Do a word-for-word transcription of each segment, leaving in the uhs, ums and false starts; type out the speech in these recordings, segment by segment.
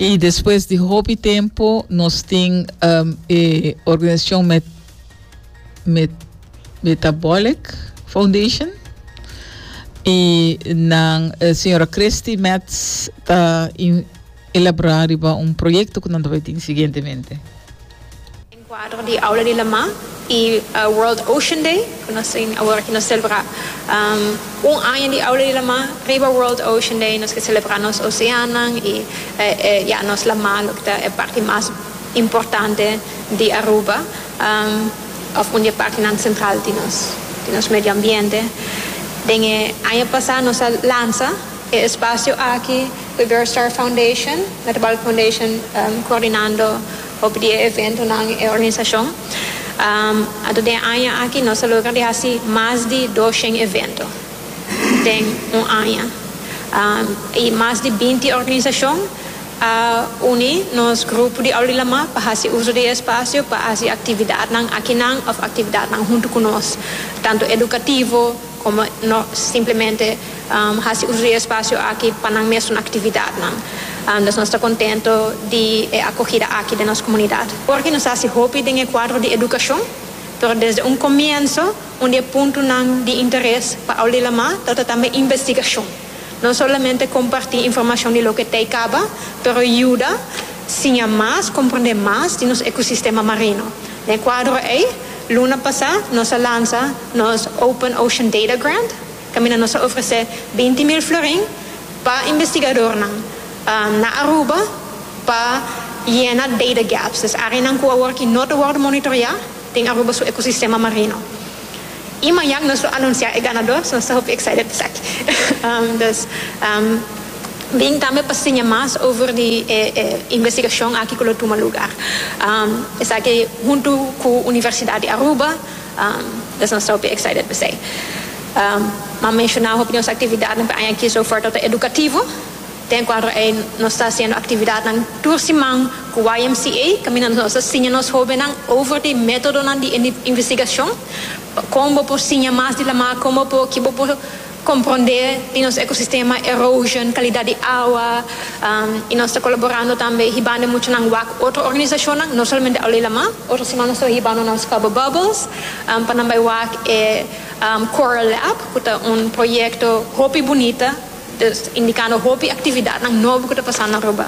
Y despues di hopi tempo nos tin um, e organisacion Met, Met, Metabolic Foundation y nan eh, señora Christy Metz ta in, elabora riba un proyecto cu nos ta bay tin siguientemente. Den cuadro di Aula di Lama y uh, World Ocean Day, cu nos tin awor cu nos celebra um, un aña di Aula di Lama, riba World Ocean Day, nos kier celebra nos oceano y eh, eh, ja, nos lama, loke ta e parti mas importante di Aruba, um, of un parti central di nos, di nos medio ambiente. Den aña pasa nos a lansa e espacio aki, e Star Foundation, Metabolic Foundation, um, coordinando e evento na organisacion. Um, anto, den aña aki nos a logra di haci mas di dos shen evento den un aña. Um, y mas di binti organisacion a uni nos grupo di Aula di Lama pa haci uso di espacio, pa haci actividadnan akinan of actividadnan hunto cu nos, tanto educativo como no simplemente um, haci uso di espacio aki pa nan mes actividadnan. Um, nos ta contento di e acogida aki di nos comunidad. Pasobra nos ta haci hopi den cuadro di educacion, pero desde un comienso, un di e puntonan di interes pa Aula di Lama, ta tambe investigacion. No solamente comparti informacion di loke tin caba, pero yuda siña mas, comprende mas di nos ecosistema marino. Den cuadro ey, luna pasa, nos a lansa nos Open Ocean Data Grant, caminda nos a ofrece binti mil florin pa investigadornan um, na Aruba pa yena data gaps. Dus areanan cu awor no ta wordo monitorea den Aruba su ecosistema marino. Y mañan nos ta anuncia e ganador, so nos ta excited pa um, dus um, bin tambe pa siña mas over di eh, eh, investigacion aki cu ta tuma luga. Um, esaki hunto cu Universidad di Aruba, um, dus nos ta excited pa esey. Um, m'a menciona nos actividad aki so far ta educativo. Den cuadro ey nos ta haciendo actividadnan tur siman cu Y M C A, caminda nos ta siña nos hobennan over di metodonan di investigacion, con por siña mas di lama, con por cu por comprende di nos ecosistema, erosion, calidad di awa, um, y nos ta colaborando tambe, hibando muchanan wak otro organisacion, no solamente Aula di Lama. Otro siman nos ta hibando nan Scuba Bubbles, um, pa nan bay wak e um, Coral Lab, cu ta un proyecto hopi bunita, dus indicando hopi actividadnan nobo cu ta pasando na Aruba.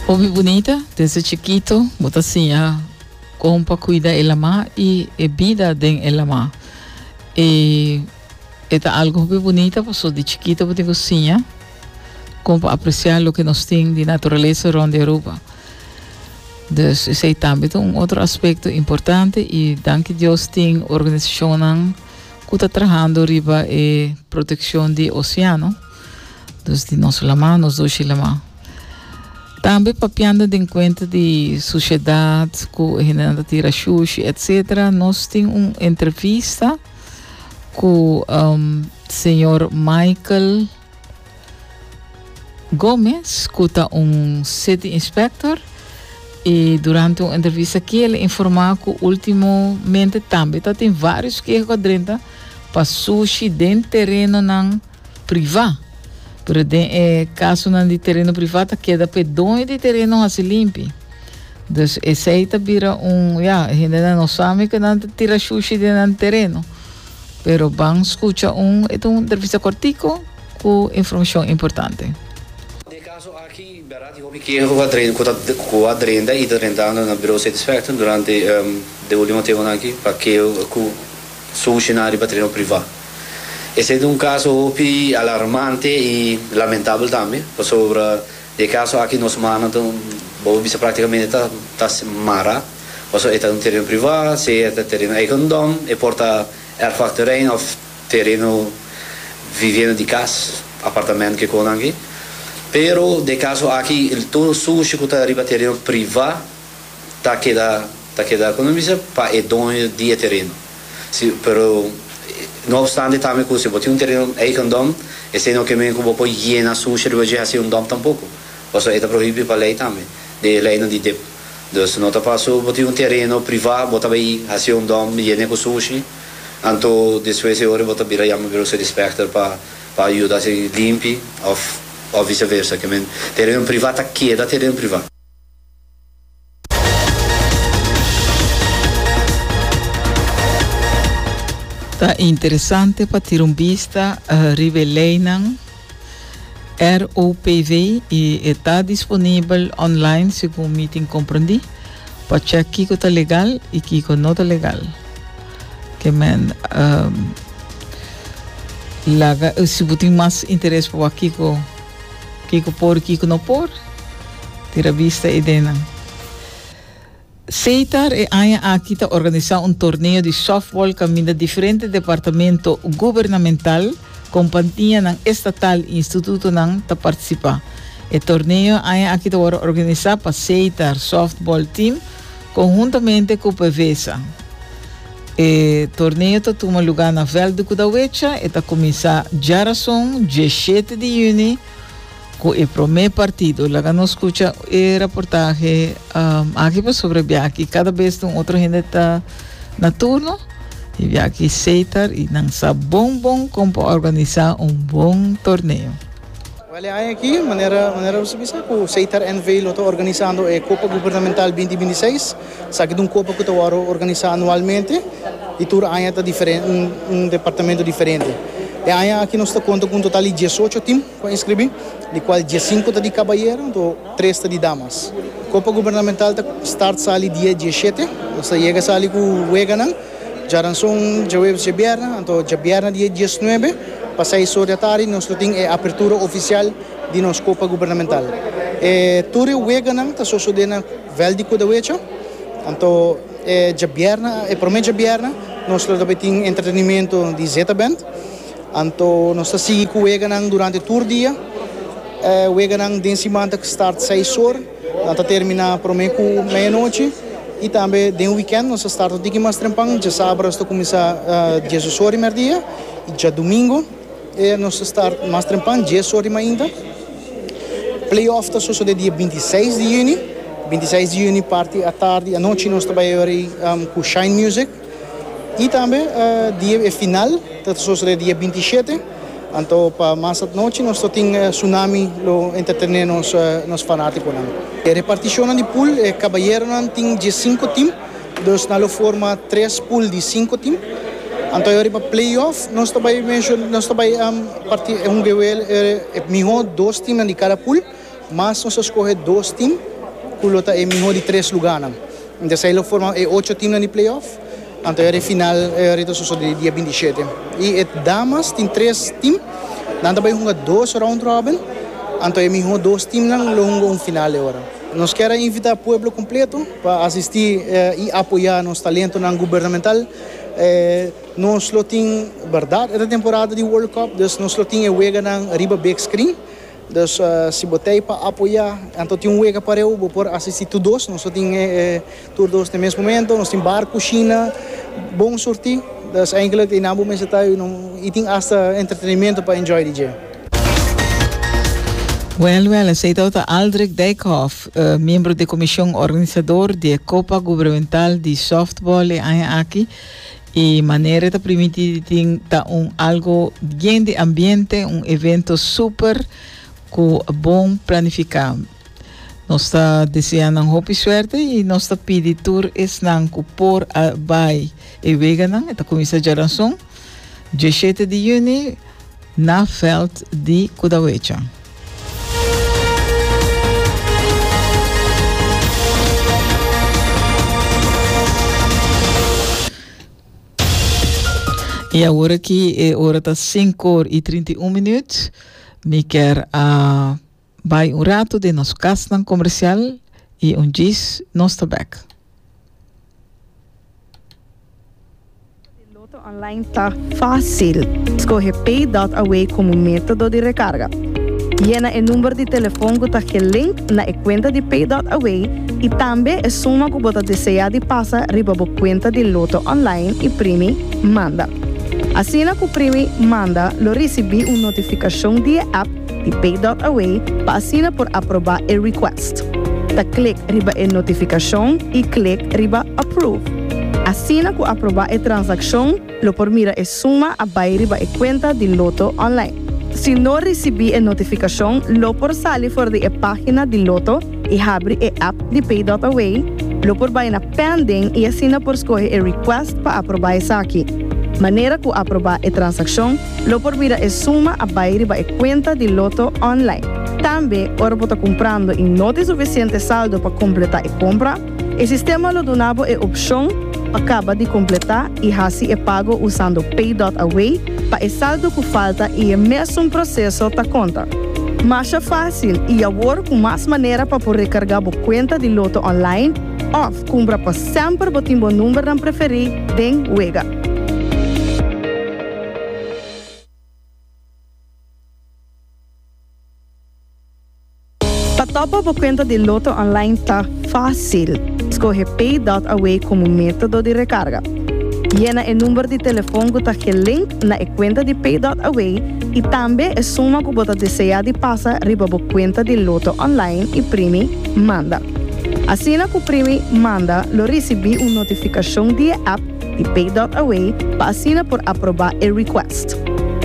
Hopi bunita, desde chikito, bo ta siña con pa cuida e lama y e bida den e lama. E ta algo hopi bunita, paso di chikito bo tin siña con pa aprecia loke nos tin di naturalesa rond di Aruba. Dus esey tambe un otro aspecto importante y danki Dios tin organisacion cu ta trahando riba e proteccion di oceano. Dus di nos lama, nos dushi lama. Tambe papiando di cuenta di sociedad, cu hende ta tira shushi, et cetera. Nos tin un entrevista cu um, señor Michael Gomes, cu ta un city inspector, y durante un entrevista aki el a informa cu ultimamente tambe ta tin varios keho drenta pa sushi den terenonan priva. Pero den eh, casonan di tereno priva ta keda pa doño di tereno haci limpi. Dus esey ta bira un, ja, hende no sabi cu nan tira sushi den tereno. Pero ban scucha un, e un entrevista cortico cu informacion importante. Den caso aki, berdad, hopi keho cu a drenta y ta drentando na Bureau City Inspector durante um, e ultimo tempo aki, pa keho cu sushi na riba tereno priva. Esey ta un caso hopi alarmante y lamentabel tambe, pasobra den e caso aki nos man ta, bo bisa, practicamente ta ta mara, pasobra ta un tereno priva, si ta tereno eigendom, e por ta erfpachtterrein of tereno vivienda di cas, apartamento cu con aki. Pero den e caso aki, tur sushi cu ta riba tereno priva, ta keda ta keda con bisa pa e doño di tereno. Si, pero no obstante tambe cu si bo tin un tereno eigendom, esey no kiermen cu bo por yena sushi riba haci un dump tampoco. Pasobra ta prohibi pa ley tambe, di ley di D I P. Dus no ta paso bo tin un tereno priva, bo ta bay haci un dump yena cu sushi, anto despues e ora bo ta bira yama Bureau City Inspector pa Pa yuda si limpi of of vice-versa, kemen tereno priva ta keda tereno priva. Ta interesante pa tira un bista uh, riba e leynan R O P V y ta disponibel online, segun mi tin comprendi, pa check kico ta legal y kico no ta legal. Kemen um, laga, si bo tin mas interes pa kico kico por, kico no por, tira bista eyden. Setar e aña aki ta organisa un torneo di softball caminda diferente departamento gubernamental, compania estatal y institutonan ta participa. E torneo aña aki ta organisa pa Setar Softball Team conhuntamente cu PDVSA. E torneo ta tuma luga na veld di Kudawecha y ta cuminsa diarason, diesshete di juni, cu e prome partido. Laga nos scucha e reportahe um, aki pa sobre biaha. Cada bes un otro hende ta na turno y biaha Setar y nan sa bon bon con organisa un bon torneo. Wel, aki, manera, manera bo sa, cu Setar N V lo ta organisando e Copa Gubernamental dos mil bintiseis. Esaki ta un copa cu ta organisa anualmente y tur aña ta diferente, un, un departamento diferente. E aña aki nos ta conta cu un total di diesocho team cu a inscribi, di cual diescinco ta di cabayero, anto tres ta di damas. Copa Gubernamental ta start sali dia diesshete, nos yega sali cu weganan, diaranson, diahuebs, diabierna, anto diabierna dia diesnuebe, pa seis or di atardi, nos tin e apertura oficial di nos Copa Gubernamental. E tur weganan ta sucede na veld di Kudawecha, anto e diabierna, e prome diabierna, nos tambe tin entretenimento di Zeta Band. Anto nos ta sigui cu weganan durante tur dia. E weganan den siman ta start seis or, ta termina prome cu mei anochi. Y tambe den weekend nos ta start un mas trempan, diasabra nos ta cuminsa uh, dies or di merdia y diadomingo eh, nos ta start mas trempan, dies or di mainta. Playoff ta sucede dia bintiseis di juni. bintiseis di juni parti atardi, anochi nos tambe um, cu Shine Music. Y tambe uh, dia final, ta sucede dia bintishete. Anto pa mas anochi nos tin uh, Tsunami lo entretene nos uh, nos fanaticonan. E reparticion di pool, eh, cabayeronan tin diescinco team, dus nan lo forma tres pool di cinco team. Anto awor pa playoff, nos tambe menciona, nos tambe um, parti un gewel eh, miho dos team di cada pool, mas nos ta scoge dos team, cu lo ta e miho di tres luga. Anto ey lo forma eh, ocho team di playoff. Anto e final eh, ta sucede dia bintishete. Y e damas tin tres team, nan tambe hunga dos round robin. Anto e miho dos team nan lo hunga un final awor. Nos kier invita pueblo completo pa asisti eh, y apoya nos talentonan gubernamental. Eh, nos lo tin, berdad, e temporada di World Cup, dus nos lo tin weganan riba big screen. Dus uh, si bo ta pa apoya, anto tin un wega pareu, bo por asisti tur dos, nos tin eh, tur dos na mes momento, nos tin bar, cushina, bon surti. Dus eigenlijk in abo mensen tayo y tin hasta entretenimento pa enjoy D J. Wel, wel, esey ta Aldrich Dijkhoff, uh, miembro di comision organisador di Copa Gubernamental di Softball aki. Y manera ta permiti ta un algo yen di ambiente, un evento super cu bon planifica. Nos ta deseando un hopi suerte y nos ta pidi tur esnan cu por bay e weganan, ta cuminsa diaranson, diesshete di juni, na veld di Kudawecha. Y awor aki, e ora ta cinco or y trinta y un minuut. Mi kier uh, bay un rato den nos cas comercial y un djis nos ta back. Lotto Online ta facil. Scoge pay ponto A W como metodo di recarga. Yena e number di telefon cu ta link na e cuenta di pay ponto A W y tambe e suma cu bo ta desea di pasa riba bo cuenta di Lotto Online y primi manda. Asina cu primi manda, lo ricibi un notificacion di app di pay ponto A W pa asina por aproba e request. Ta click riba e notificacion y click riba approve. Asina cu aproba e transaccion, lo por mira e suma a bay riba e cuenta di Lotto Online. Si no risibí e notifikashon, lo por sali for di e página di Lotto i habri e app di Pay punto A W, lo por bai na pending i asina por skohe e request pa aprobá esaki. Manera ku aprobá e transakshon, lo por mira e suma a bai riba e kuenta di Lotto online. Tambe, ora bo ta kumprando i no tin sufisiente saldo pa kompletá e kompra, e sistema lo duna bo e opshon pa kaba di kompletá i hasi e pago usando Pay punto A W pa e saldo ku falta i e mesun proseso ta konta. Mas fásil i awor ku mas manera pa por rekargá bo kuenta di Lotto online òf kumpra pa semper bo tin bo numbernan preferí den wega. Pa top up bo kuenta di Lotto online ta fásil. Skohe Pay punto A W komo método di rekarga. Yena e number di telefòn ku ta gelink na e kuenta di Pay punto A W i tambe e suma ku bo ta deseá di pasa riba bo kuenta di Lotto online i primi manda. Asina ku primi manda, lo risibí un notifikashon di app di Pay punto A W pa asina por aprobá e request.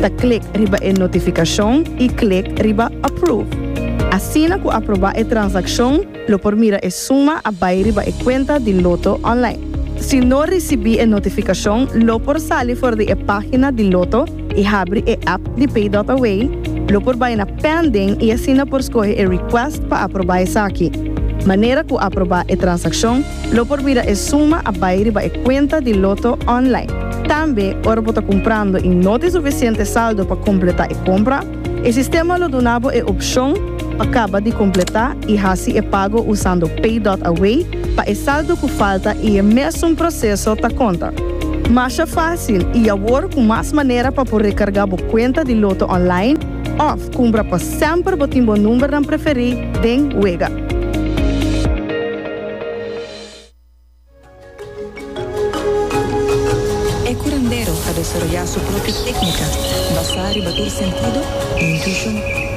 Ta klek riba e notifikashon i klek riba approve. Asina ku aprobá e transakshon, lo por mira e suma a bai riba e kuenta di Lotto online. Si no risibí e notifikashon, lo por sali for di e página di Lotto i habri e app di Pay punto A W, lo por bai na pending i asina por skohe e request pa aprobá esaki. Manera ku aprobá e transakshon, lo por mira e suma a bai riba e kuenta di Lotto online. Tambe, ora bo ta kumprando i no tin sufisiente saldo pa kompletá e kompra, e sistema lo duna bo e opshon pa kaba di kompletá i hasi e pago usando Pay punto A W pa e saldo ku falta i e mesun proseso ta konta. Mas fásil i awor ku mas manera pa por rekargá bo kuenta di Lotto online òf kumpra pa semper bo tin bo numbernan preferí den wega. E curandero a desaroyá su propio téknika, basá riba tur sentido i intuishon.